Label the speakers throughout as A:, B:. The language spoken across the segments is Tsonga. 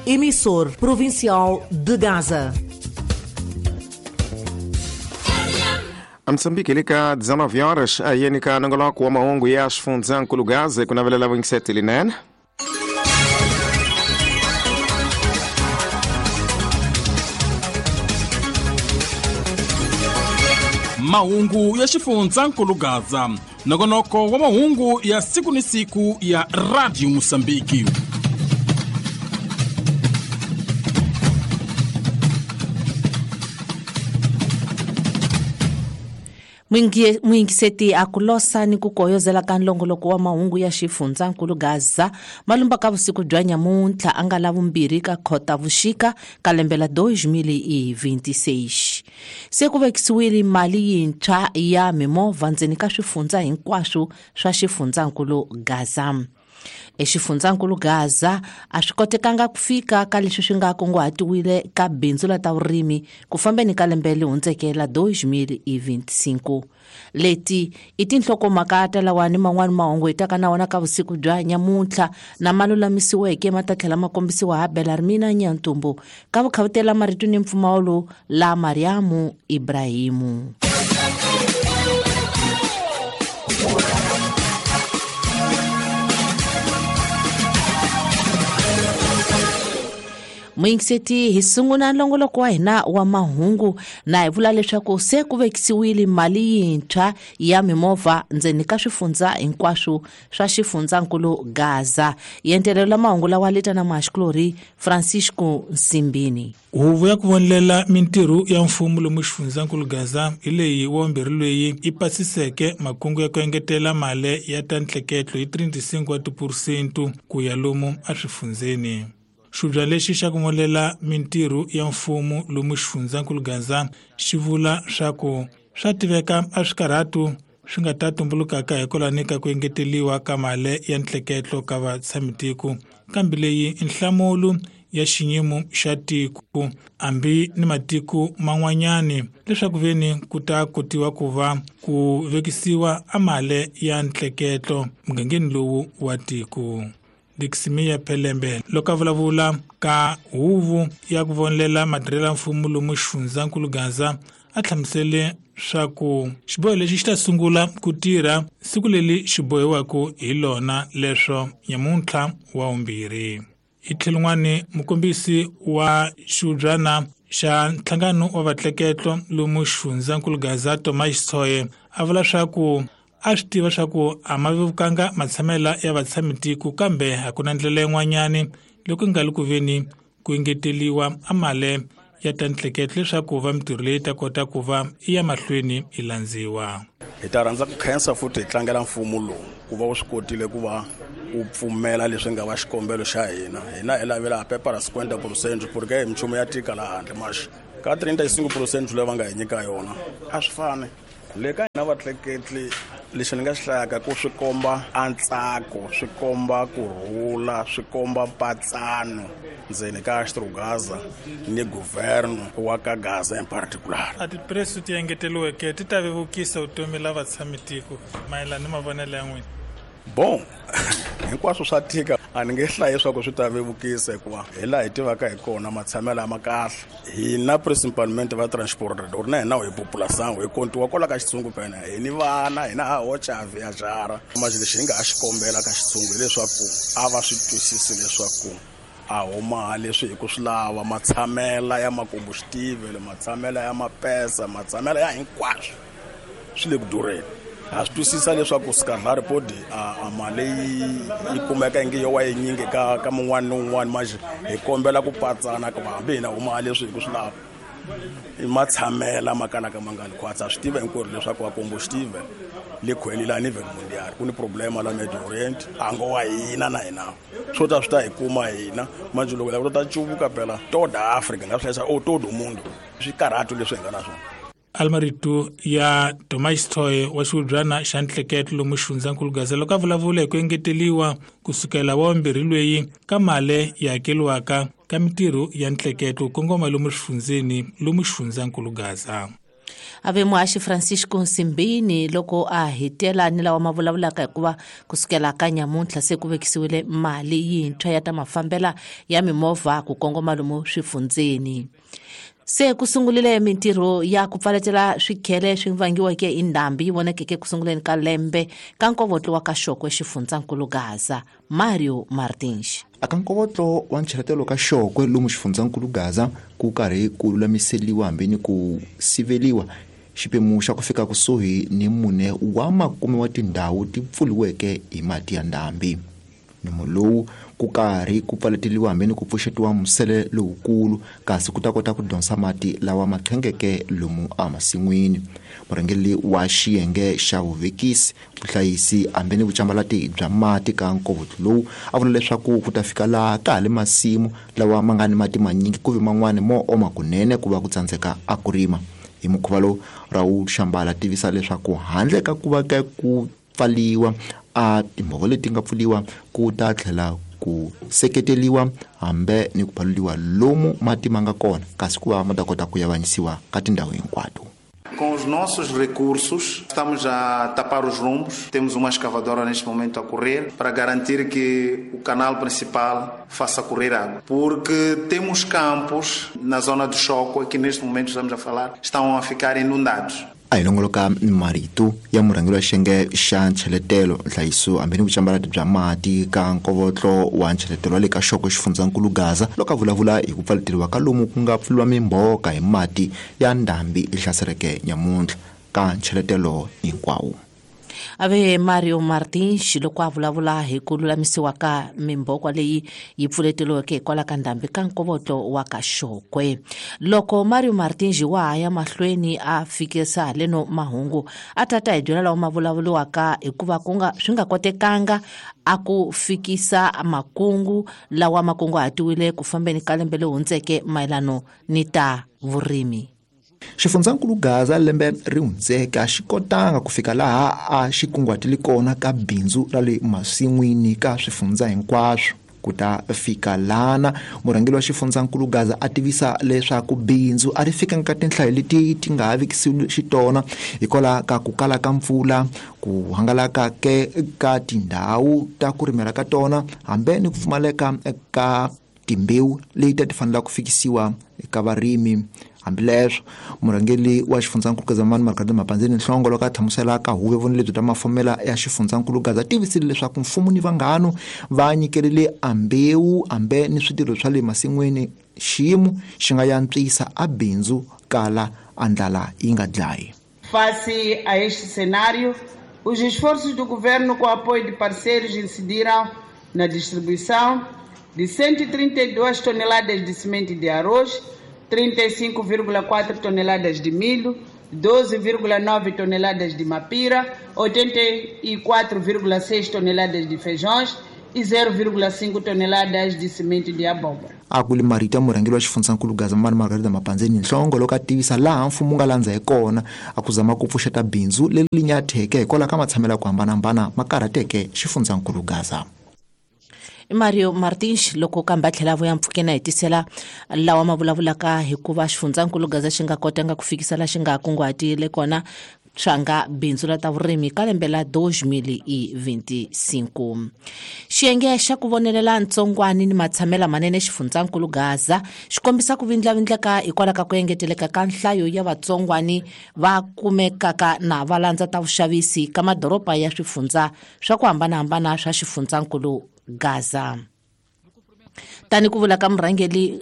A: emissor provincial de Gaza.
B: A Moçambique lika 19 horas, a yenika nongoloko wa mahungu ya xifundzhankulu Gaza ku navelela vuyingiseti linene.
C: Mahungu ya xifundzhankulu Gaza, nongonoko wa mahungu ya siku ni siku ya Radio Mosambiki.
D: Muyingiseti a ku losa ni ku koyozela ka nlongoloko wa mahungu ya xifundzhankulu Gaza malumba ka vusiku bya nyamuntlha a nga lavumbirhi ka Khotavuxika ka lembe la 2026. Se ku vekisiwile mali yintshwa ya mimovha ndzeni ka swifundza hinkwaswo swa xifundzhankulu Gaza. Exifundzhankulu Gaza a swi kotekanga ku fika ka leswi swi nga kunguhatiwile ka bindzu la ta vurimi ku fambeni ka lembe leri hundzeke la 2025. Leti i tinhlokomhaka ta lawa ni man'wani mahungu hi taka na wona ka vusiku bya nyamuntlha na ma lulamisiweke ma ta tlhela ma kombisiwa ha Belarmina Nyantumbu ka vukhavutela marito ni mpfumawulo la Mariamu Ibrahimu. Muyingiseti hi sungula nlongoloko wa hina wa mahungu na hi vula leswaku se ku vekisiwile mali yintshwa ya mimovha ndzeni ka swifundza hinkwaswo swa xifundzhankulu Gaza. Yentelelo mahungu lawa leta na muhaxikulorhi Francisco Nsimbini.
E: Huvo ya ku vonelela mintirho ya mfumo lomu xifundzhankulu Gaza hi leyi wa vumbirhi leyi i pasiseke makungu ya ku engetela mali ya ta ntleketlo hi 35 wa tiphurosente ku ya lomu eswifundzeni. Xivulwa lexi xa ku vonelela mintirho ya mfumo lomu xifundzhankulu Gaza xi vula swa ku swa tiveka a swikarhatu swi nga ta tumbulukaka hikwalaho ka ku engeteliwa ka mali ya ntleketlo ka vatshamitiko, kambe leyi i nhlamulo ya xiyimo xa tiko hambi ni matiko man'wanyani leswaku veni ku ta kotiwa ku va ku vekisiwa a mali ya ntleketlo mugangeni lowu wa tiko. Diximia Pelembe loko a vulavula ka huvo ya ku vonelela matirhelo ya mfumo lomu xifundzhankulu Gaza a hlamusele swa ku xiboho lexi xi ta sungula ku tirha siku leri xi bohiwaka hi lona leswo nyamuntlha wa vumbirhi. Hi tlhelo n'wani mukombisi wa xiubyana xa nhlangano wa vatleketlo lomu xifundzhankulu Gaza Thomas Tshoye a vula swa ku a swi tiva swa ku a ma vevukanga matshamela ya vatshamitiko, kambe a ku na ndlela yin'wanyani loko nga le ku veni ku engeteliwa a mali ya ta ntleketlo leswaku va mintirho leyi ta kota ku va i ya mahlweni yi landziwa.
F: Hi ta rhandza ku khensa futhi hi tlangela mfumo lowu ku va wu swi kotile ku va wu pfumela leswi nga va xikombelo xa hina. Hina hi lavela pepa ra 50% porque minchumu ya tika laha handle maxi ka 35% leyi va nga hi nyika yona a swi fani. Le ka hina vatleketli lexi ni nga xi hlayaka ku swi komba a ntsako, swi komba kurhula, swi komba mpatsano ndzeni ka Gaza ni governo wa ka Gaza in particular.
E: A tipresu ti engeteliweke ti ta vevukisa vutomi la vatshamitiko mayelana ni mavonelo ya n'wina?
F: Bon, hinkwaswo swa tika a ni nge hlayi leswaku swi ta vevukisa hikuva hi laha hi tivaka hi kona matshamelo ma kahle. Hina principalmente va transport or na hina hi population hi kontiwa kwala ka xitshungu pena hi ni vana hina a ho chavi ya jara. Manje lexi hi nga xi kombela ka xitshungu hileswaku a va swi twisisi leswaku a huma leswi hi ku swi lava matshamela ya makombuxitivele, matshamela ya mapesa, matshamela ya hinkwaswo swi le ku durheni. Ha swi twisisa leswaku Skadlari podi a mali yi kumeka ingi yo wa yinyingi ka mun'wani ni un'wani, manje hi kombela ku patsana ku hambi hina huma leswi hi ku swi lava i matshamela ma kalaka ma nga li khwatsa. Swi tiva hinkwerhu leswaku va kombuxitive le khweli la ni mundial ku ni problema la Middle Orient a ngo wa hina na hina swo ta swi ta hi kuma hina manje loko la ta cuvuka phela toda Africa nga swi hlayisa o todo mundo swikarhatu leswi hi nga na swona.
E: Almarito ya Thomas Tshoye wa xiubyana xa ntleketlo lomu xifundzhankulu Gaza loko a vulavula hi ku engeteliwa kusukela wa vumbirhi lweyi ka mali yi hakeliwaka ka mintirho ya ntleketlo kongoma lomu swifundzeni lomu xifundzhankulu Gaza.
D: Ave muhaxi Francisco Nsimbini loko a hitela ni lawa ma vulavulaka hikuva kusukela ka nyamuntlha se ku vekisiwile mali yintshwa ya ta mafambela ya mimovha ku kongoma lomu swifundzeni. Se ku sungulile mintirho ya ku pfaletela swikhele swi vangiweke hi ndhambi yi vonakeke ku sunguleni ka lembe ka nkovotlo wa ka Xokwe xifundzankulu Gaza. Mario Martins.
G: Aka nkovotlo wa ncheletelo ka Xokwe lomu xifundzankulu Gaza ku karhi ku lulamiseliwa hambi ni ku siveliwa xipemu xa ku fika kusuhi ni 4 wa makume wa tindhawu ti pfuliweke hi mati ya ndhambi. Nomo lowu ku karhi ku pfaleteliwa hambi ni ku pfuxetiwa musele lowukulu kasi ku ta kota ku donsa mati lawa ma tlhengeke lomu emasin'wini. Murhangeri wa xiyenge xa vuvekisi, vuhlayisi hambi ni vucambalati bya mati ka nkovotlo lowu a vula leswaku ku ta fika laha ka ha le masimu lawa ma nga ni mati manyingi ku ve man'wani mo oma kunene ku va ku tsandzeka a ku rima. Hi mukhuva lowu Raul Shambala tivisa leswaku handle ka ku va ka ku pfaliwa a timovha leti nga pfuliwa ku ta tlhela ku seketeliwa hambe ni ku paluliwa lomu mati ma nga kona kasi ku va ma ta kota ku yavanyisiwa ka tindhawu hinkwato.
H: Com os nossos recursos, estamos a tapar os rombos. Temos uma escavadora neste momento a correr para garantir que o canal principal faça correr água. Porque temos campos na zona do Chokwe que neste momento estamos a falar, estão a ficar inundados.
G: A hi longoloka marito ya murhangeri wa xiyenge xa ncheletelo nhlayiso hambi ni vucambalati bya mati ka nkovotlo wa ncheletelo wa le ka Xokwe xifundzankulu Gaza loko a vulavula hi ku pfaleteriwa ka lomu ku nga pfuliwa mimbhoka hi mati ya ndhambi yi hlaseleke nyamuntlha ka ncheletelo hinkwawo.
D: Ave Mario Martins loko a vulavula hi ku lulamisiwa ka mimbhokwa leyi yi pfuleteliweke hikwalaho ka ndhambi ka nkovotlo wa ka Xokwe. Loko Mario Martins wa ha ya mahlweni a fikisa haleno mahungu a tata hi byela lawa ma vulavuriwaka hikuva ku nga swi nga kotekanga a ku fikisa makungu lawa ma kunguhatiwile ku fambeni ka lembe leri hundzeke mayelano ni ta vurimi.
G: Xifundzankulu Gaza lembe ri hundzeke a xi kotanga ku fika laha a xi kunguhatile kona ka bindzu ra le masin'wini ka swifundza hinkwaswo. Ku ta fika lana murhangeri wa xifundzankulu Gaza a tivisa leswaku bindzu a ri fikanga ka tinhlayo leti ti nga ha vekisiwi xitona hikwalaho ka ku kala ka mpfula, ku hangalaka ke ka tindhawu ta ku rimela ka tona hambi ni ku pfumaleka ka timbewu leyi ta ti fanela ku fikisiwa eka varimi. Hambileswo murhangeri wa xifundzankulu Gaza Mani Margaret Mapandzeni Nhlongo loko a hlamusela ka huvo vonelo lebyi ta mafomela ya xifundzankulu Gaza tivisile leswaku mfumo ni vanghano va nyikerile ambewu hambe ni switirho swa le masin'wini xiyimo xi nga yantswisa a bindzu kala a ndlala yi nga dlayi.
I: Face a este cenário, os esforços do governo com o apoio de parceiros incidiram na distribuição de 132 toneladas de semente de arroz, 35,4 toneladas de milho, 12,9 toneladas de mapira, 84,6 toneladas de feijões e 0,5 toneladas de semente de abóbora.
G: A ku li marito ya murhangeri wa xifundzankulu Gaza Mani Margaret Mapandzeni Nhlongo loko a tivisa laha mfumo wu nga landza hi kona a ku zama ku pfuxeta bindzu leri nyatheke hikwalaho ka matshamelo ya ku hambanahambana ma karhateke xifundzankulu Gaza.
D: Mario Martins loko kambe a tlhela a vuya mpfhukeni a hetisela lawa ma vulavulaka hikuva xifundzankulu Gaza xi nga kotanga ku fikisa laha xi nga kunguhatile kona swa nga bindzu ra ta vurimi ka lembe la 2025. Xiyenge xa ku vonelela ntsongwani ni matshamela manene xifundzankulu Gaza xi kombisa ku vindlavindleka hikwalaho ka ku engeteleka ka nhlayo ya vatsongwani va kumekaka na va landza ta vuxavisi ka madoroba ya swifundza swa ku hambanahambana swa xifundzankulu Gaza. Tani ku vula ka murhangeri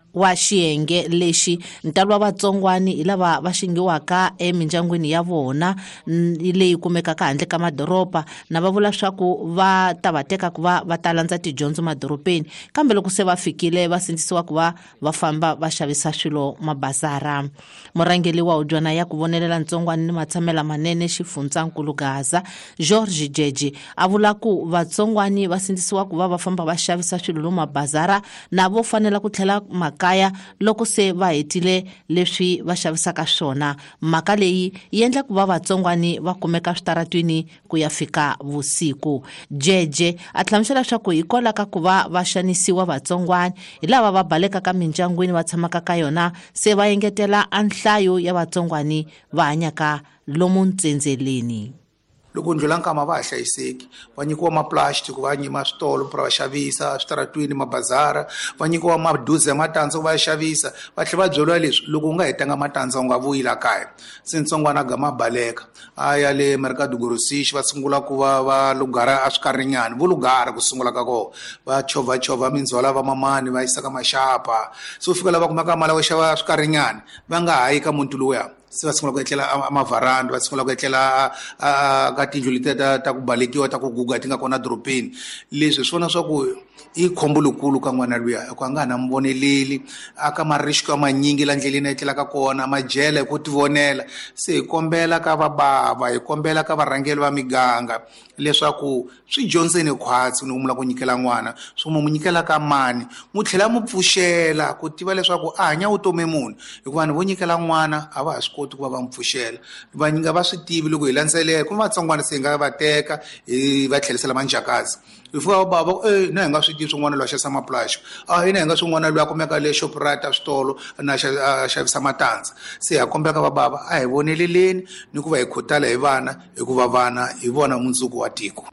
D: wa xiyenge lexi ntalo wa vatsongwani hi lava va xingiwaka emindyangwini ya vona leyi kumekaka handle ka madoroba na va vula swa ku va ta va teka ku va va ta landza tidyondzo madorobeni kambe loko se va fikile va sindzisiwa ku va va famba va xavisa swilo mabazara. Murhangeri wa hubyana ya ku vonelela ntsongwani ni matshamela manene xifundzankulu Gaza George Jeje a vula ku vatsongwani va sindzisiwa ku va va famba va xavisa swilo lo mabazara na vo fanela ku tlhela makaya loko se va hetile leswi va xavisaka swona. Mhaka leyi yi endla ku va vatsongwani va kumeka switaratwini ku ya fika vusiku. Jeje a hlamusela leswaku hikwalaho ka ku va va xanisiwa vatsongwani hi lava va balekaka mindyangwini va tshamaka ka yona, se va engetela a nhlayo ya vatsongwani va hanyaka lomu ntsendzeleni.
H: Loko ndlula nkama va ha hlayiseki, va nyikiwa maplastic va nyima switolo pra va xavisa switaratwini, mabazara, va nyikiwa maduze ya matandza ku va ya xavisa, va tlhela va byeriwa leswi loko u nga hetanga matandza u nga vuyi la kaya. Se ntsongwana a gama a baleka a ya le Mercado Grossist, va sungula ku va va lugara a swikarinyani, vo lugara ku sungula ka kona, va chovhachovha mindzhwalo va mamani va yisa ka maxapa. Se u fika la va kumaka mali yo xava swikarinyani, va nga ha yi ka muti lowuya, se va sungula ku etlela a mavaranda, va sungula ku etlela ka tindlu letiya ta ku balekiwa ta ku guga ti nga kona dorobeni. Leswi hi swona swa ku i khombo lokulu ka n'wana luya, hikuva a nga ha na muvoneleli, a ka marisiko ya manyingi la ndleleni a etlelaka kona, majele hi ku tivonela. Se hi kombela ka vabava, hi kombela ka varhangeri va miganga leswaku swi dyondzeni khwatsi ni ku nyikela n'wana, swo mu nyikela ka mani, mu tlhela mu pfuxela ku tiva leswaku a hanya vutomi munhu, hikuva vanhu vo nyikela n'wana a va ha swi koti ku va va mu pfuxela, va nga va swi tivi loko hi landzelela ku vatsongwana se hi nga va teka hi va tlherisela manjhakazi. Hi fika va bava na hi nga swi tivi swin'wana loyi a xavisa maplastic, a hina hi nga swin'wana loyi a kumeka le Shoprite a switolo na a xavisa matandza. Se ha kombela ka va bava a hi voneleleni ni ku va hi khutala hi vana, hikuva vana hi vona mundzuku wa tiko.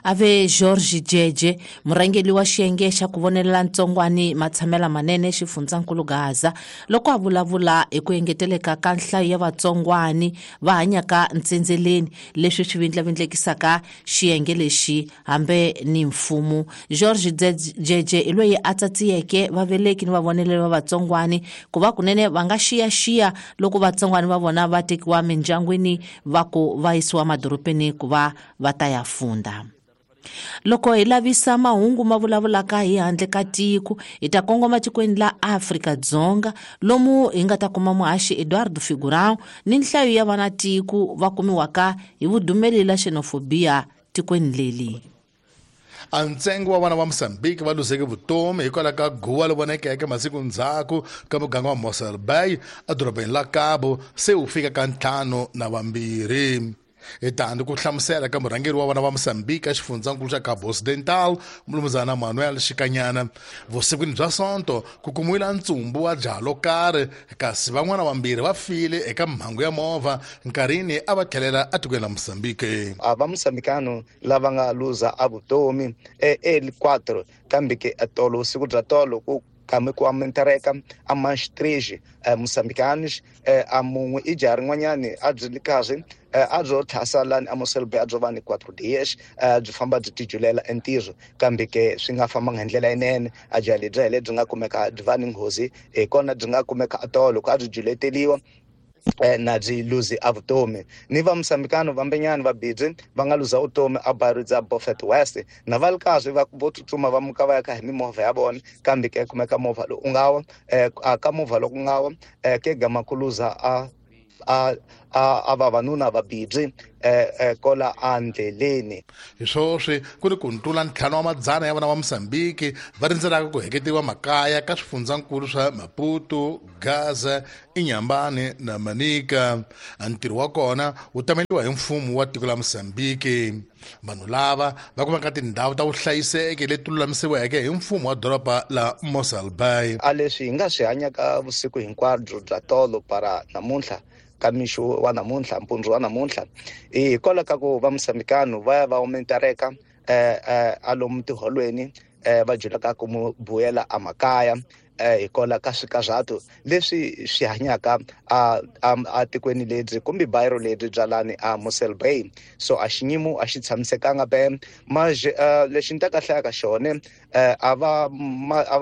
D: Ave George Jeje, murhangeri wa xiyenge xa ku vonelela ntsongwani matshamela manene xifundzankulu Gaza, loko a vulavula hi ku engeteleka ka nhlayo ya vatsongwani va hanyaka ntsendzeleni, leswi swi vindlavindlekisaka xiyenge lexi hambe ni mfumo. George Jeje hi loyi a tsatsiyeke vaveleki ni vavoneleri va vatsongwani ku va kunene va nga xiyaxiya loko vatsongwani va vona va tekiwa mindyangwini va ku va yisiwa madorobeni ku va va ta ya funda. Loko hi lavisa mahungu ma vulavulaka hi handle ka tiko, hi ta kongoma tikweni la Afrika-Dzonga lomu hi nga ta kuma muhaxi Eduardo Figurão ni nhlayo ya vanatiko va kumiwaka hi vudumeli la xenophobia tikweni leli.
J: A ntsengo wa vana va Mozambique va luzeke vutomi hikwalaho ka guwa leri vonekeke masiku ndzhaku ka muganga wa Mossel Bay edorobeni la Cabo se wu fika ka 52. Hi tani ku hlamusela ka murhangeri wa vana va Mozambique exifundzankulu xa Cabo Occidental, mulumuzana Manuel Xikanyana, vusikwini bya Sonto ku kumiwile ntsumbu wa jaha lo karhi, kasi van'wana vambirhi va file eka mhangu ya movha nkarhini a va tlhelela etikweni la Mozambique.
K: A va Mozambicano lava nga luza a vutomi e 4 kambe ke tolo vusiku bya tolo ku kame ku aumentareka a mais 3 moçambicanos, a mun'we i jaha rin'wanyani a byi ri karhi a byo tlhasa lani a Mossel Bay a byo va ni 4 dias, byi famba byi tijulela entirho, kambe ke swi nga fambanga hi ndlela yinene. A jaha lebyi hi lebyi nga kumeka byi va ni nghozi, hi kona byi nga kumeka a tolo ku a byi juleteliwa na byi luzi a vutomi. Ni va Mozambicano vambenyani va bibyi va nga luza vutomi a bairro bya Beaufort West, na va ri karhi va vo tsutsuma va muka va ya ka hi mimovha ya vona, kambe ke kumeka movha lowu nga wa, a ka movha loku nga wa, ke gama ku luza a a vavanuna va bibyi kola andleleni.
J: Hi swoswi ku ri ku tlula 5 wa madzana ya vana va Mozambique va rindzelaka ku heketiwa makaya ka swifundzankulu swa Maputo, Gaza, Inhambane na Manica. Ntirho wa kona wu tameliwa hi mfumo wa tiko la Mozambique. Vanhu lava va kumaka tindhawu ta vuhlayiseki leti lulamisiweke hi mfumo wa doroba la Mossel Bay.
K: A leswi hi nga swi hanyaka vusiku hinkwabyo bya tolo para namuntlha ka mixo wa namuntlha, mpundzu wa namuntlha, hikwalaho ka ku va Mozambicano va ya va aumentareka a lomu tiholweni, va julaka ku mu buyela emakaya, hikwalaho ka swikarhato leswi swi hanyaka a tikweni lebyi kumbe bairro lebyi bya lani a Mossel Bay. So a xiyimo a xi tshamisekanga be mas lexi ni ta ka hlayaka xona, a va a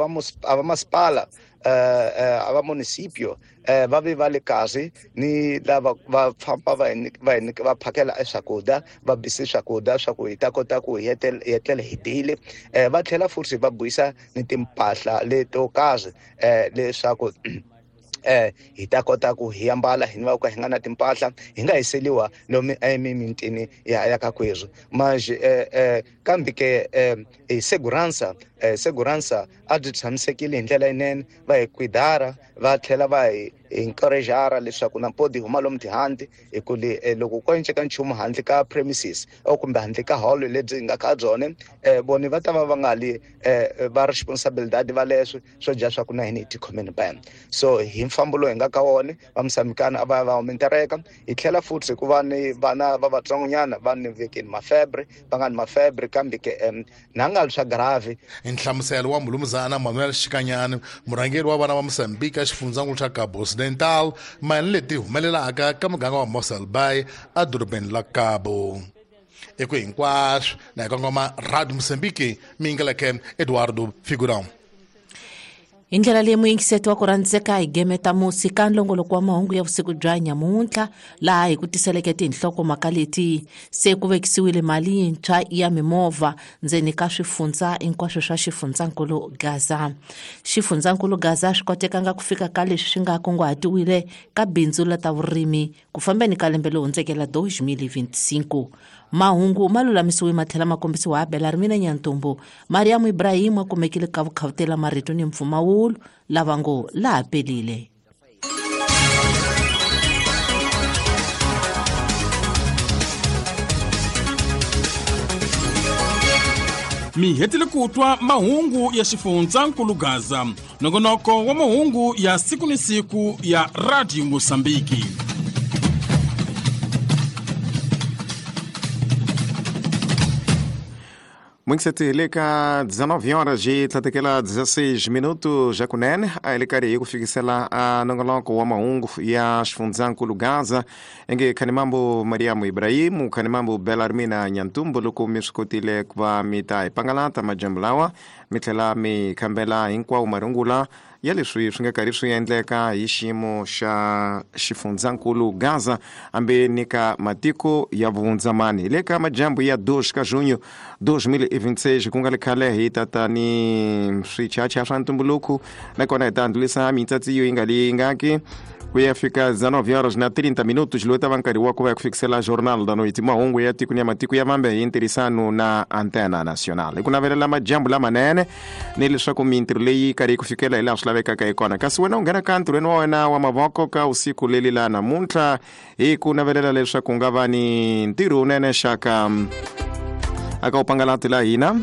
K: va masipala, a va municipio, va ve va le karhi ni lava va famba va hi va phakela eswakudya, va bisi swakudya swa ku hi ta kota ku hi etlela hi tiyile. Va tlhela futhi va buyisa ni timpahla leto karhi, leswaku Hi ta kota ku hi ambala hi va ka hi nga na timpahla hi nga hiseliwa lomu emimitini ya ka kwezwi manje kambe ke segurança a byi tshamisekile hi ndlela yinene va hi kwidara va tlhela va hi encouragera leswaku na podi huma lomu tihandle hi ku loko ko enceka nchumu handle ka premises o kumbe handle ka hall lebyi nga ka byona vona va ta va va nga li va responsibilidade va leswi swo dya swa ku na hina hi tikhomeni bam. So hi mfambo lowu hi nga ka wona va Mosambikana a va ya va humentereka hi tlhela futhi ku va ni vana va vatsongonyana va ni vekeni mafebre va nga ni mafebre kambe ke na nga swa grave.
J: Nhlamuselo wa Mulumuzana Manuel Xikanyani, murhangeri wa vana va Mosambika xifundzankulu xa Cabo Occidental, mayelana leti humelelaka ka muganga wa Mossel Bay edorobeni la Cabo. Eku hinkwaswo na hi kongoma Radio Mozambique, mingaleke Eduardo Figurão.
D: Hi ndlela leyi muyingiseti wa ku rhandzeka hi gemeta musi ka nlongoloko wa mahungu ya vusiku bya nyamuntlha laha hi ku tiseleke tinhlokomhaka leti se ku vekisiwile mali yintshwa ya mimovha ndzeni ka swifundza hinkwaswo swa xifundzankulu Gaza. Xifundzankulu Gaza swi kotekanga ku fika ka leswi swi nga kunguhatiwile ka bindzu la ta vurimi ku fambeni ka lembe lowu hundzeke la 2025. Mahungu ma lulamisiwe ma tlhela ma kombisiwa hi Belarmina Nyantumbu. Mariam Ibrahim a kumekile ka vukhawutela marito ni mpfumawulo lava ngo laha pelile.
C: Mi hetile ku twa mahungu ya xifundzankulu Gaza, nongonoko wa mahungu ya siku ni siku ya Radio Mozambique.
B: Muito leka 19 horas e tlatekela 16 minutos já kunene a ele kari ku fikisela a nongoloko wa mahungu ya xifundzankulu Gaza enge khanimambo Mariam Ibrahim khanimambo Belarmina Nyantumbu loko mi swi kotile ku va mi ta hi pangalata majambu lawa mi tlhela mi khambela hinkwawo marungula ya leswi swi nga karhi swi endleka hi xiyimo xa xifundzankulu Gaza hambi ni ka matiko ya vundzamani. Hi le ka majambu ya 2 ka junho 2026 ku nga ri khale hi tata ni swichacha swa ntumbuluko nakona hi ta ndlulisa mintsatsiyo yi nga li ngaki ku ya fika 19 horas na 30 minutos lowu ta va nkarhi wa ku va ya ku fikisela Jornal da Noite, mahungu ya tiko ni ya matiko ya mambe hi ntirhisano na Antena Nacional. Hi ku navelela majambu lamanene ni leswaku mintirho leyi karhi yi ku fikela hi laha swi lavekaka hi kona. Kasi wena u nghena ka ntirhweni wa wena wa mavoko ka usiku leli la namuntlha, hi ku navelela leswaku u nga va ni ntirho wunene xaka aka u pangalati la hina.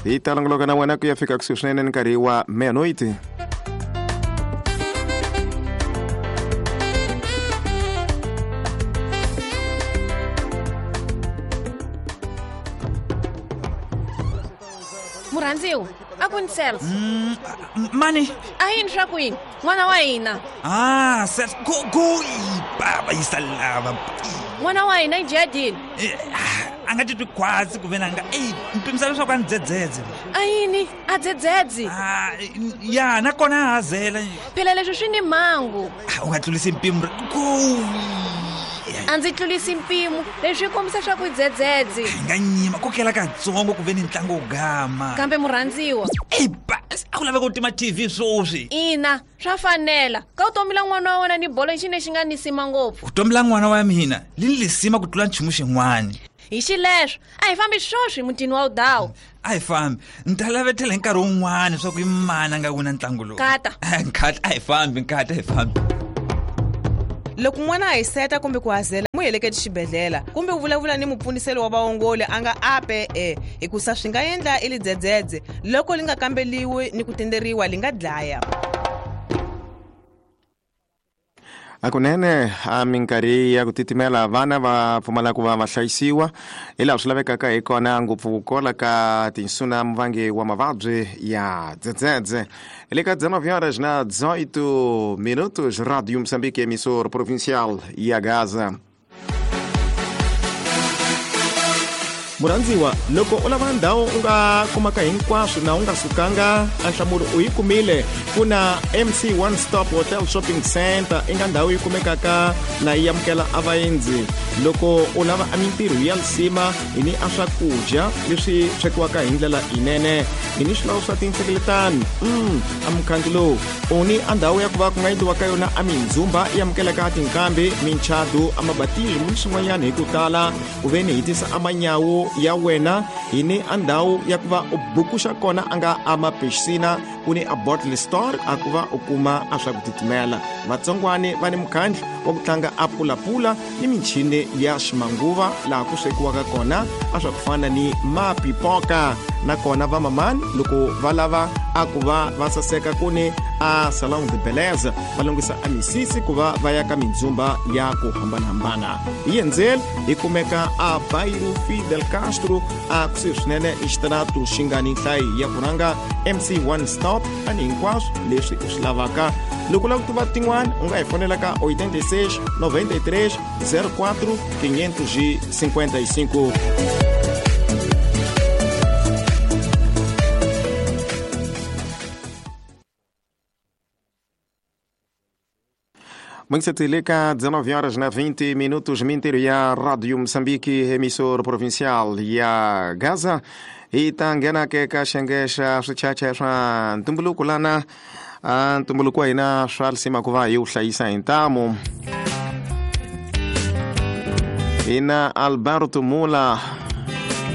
B: Hi ta longoloka na wena ku ya fika kusuhi swinene ni nkarhi wa meia-noite.
L: Murhandziwa, a ku ni self.
M: Mani?
L: A yini swa ku yini? N'wana wa hina.
M: Self go baba yisa lava.
L: N'wana wa hina i jadini.
M: A nga titwi khwatsi ku ve na nga mpimisa leswaku a ni dzedzedze.
L: A yini? A dzedzedze?
M: Ya nakona a hazela.
L: Phela leswi swi ni mhangu.
M: U nga tlulisi mpimo. Go.
L: A ndzi tlulisi mpimo, leswi kombisa swa ku dzedzedze.
M: Hi nga nyima ku kela katsongo ku ve ni ntlangu wo gama.
L: Kambe murhandziwa.
M: A ku laveka ku tima TV swoswi.
L: Ina, swa fanela. Ka vutomi la n'wana wa wena ni bolo i xi nga nisima ngopfu.
M: Vutomi la n'wana wa mina li ni lisima ku tlula nchumu xin'wana.
L: Hi xileswo, a hi fambi swoswi mutini wa Udawu.
M: A hi fambi. Ni ta lavetela hi nkarhi wun'wana swa ku i mani a nga wina ntlangu lowu.
L: Kata.
M: Nkata, a hi fambi, nkata, a hi fambi.
N: Loko n'wana a hiseta kumbe ku hazela mu heleketi xibedhlele kumbe u vulavula ni mupfuniseli wa vaongoli a nga ape hikusa swi nga endla i lidzedzedze loko li nga kambeliwi ni ku tenderiwa li nga dlaya.
B: Akunene a minkarhi ya ku titimela vana va pfumala ku va va hlayisiwa hi laha swi lavekaka hi kona ngopfu ku kola ka tinsuna muvangi wa mavabyi ya dzedzedze. Hi le ka 19 horas na 18 minutos, Radio Moçambique, emissor provincial ya Gaza. Murhandziwa, loko u lava ndhawu u nga kumaka hinkwaswo na u nga sukanga, a nhlamulo u yi kumile. Ku na MC One Stop Hotel Shopping Center, i nga ndhawu yi kumekaka na yi amukela a vaendzi. Loko u lava a mintirho ya lisima, hi ni a swakudya leswi swekiwaka hi ndlela yinene, hi ni swilawo swa tinhlengeletano. A mukhandlu lowu u ni a ndhawu ya ku va ku nga endliwa ka yona a mindzumba yi amukelaka tinkambi, minchadu, a mabatismo ni swin'wanyana hi ku tala. Ku ve ni hi tisa a manyawu ya wena, hi ni a ndhawu ya ku va u bukuxa kona a nga a mapixina, ku ni a bottle store a ku va u kuma a swa ku titimela. Vatsongwani va ni mukhandlu wa ku tlanga a pulapula ni michini ya ximanguva laha ku swekiwaka kona a swa ku fana ni mapipoka. Nakona vamamani loko va lava a ku va va saseka, ku ni a salon de beleza, va lunghisa a misisi ku va va ya ka mindzumba ya ku hambanahambana. Hi endzeli hi kumeka a Bairro Fidel Castro, a kusuhi swinene ni xitaratu xi nga ni nhlayo ya ku rhanga MC One Stop, ani hinkwaswo leswi u swi lavaka. Loko u lava ku tiva tin'wana, u nga hi fonela ka 86 93 04 555. Muito ka 19 horas na 20 minutos, Minteiro ya Rádio Moçambique, emissor provincial ya Gaza. Hi ta nghena ke ka xiyenge xa swichacha swa ntumbuluko lana a ntumbuluko wa hina swa lisima ku va hi wu hlayisa hi ntamu. Hina Alberto Mula